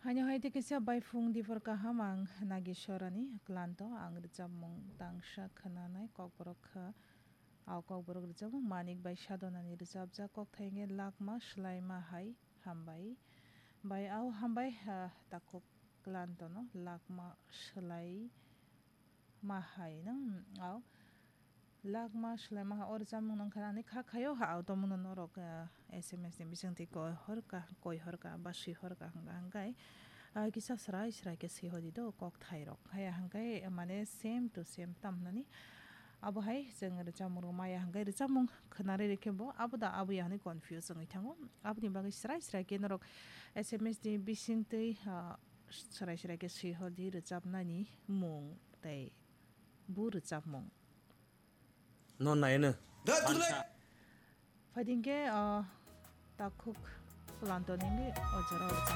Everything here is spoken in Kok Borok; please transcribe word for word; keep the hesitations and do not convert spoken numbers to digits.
Haino hai tei kisa baifung diphor kaham ang Nagiswarani klanto ang rwchapmung tangsa khwnanai kokborok kha. Au kokborok rwchapmung Manik bai Sadonani rwchapjak kokthai hwnkhe Lakma Swlaima Hai Hambai. Bai au hambai, ah, takhuk klantono Lakma Swlai ma hai nang, au. Lakma Swlaima ha o rwchapmung nang kha ani kha khaio ha au tongmungno norok, ah, S M S ni bisingtwi koi horka, koi horka ba swi horka hwnkha hwnkhe, ah, kisa srai srai khe swi hodi do kokthairok. Haya hwnkhe mane same to same tam hwnani. Abo hai chwng rwchapmung rok maya hwnkhe rwchapmung khwnarwi rwkhe bo abo da abo ya hwnwi confuse wngwi thango. Aboni bagwi srai srai khe norok S M S ni bisingtwi, ah, srai srai khe swi hodi rwchapnani mung tei bu rwchapmung. No naino. Phaidingkhe, ah, takhuk klanto nini o jora o rwchapmung.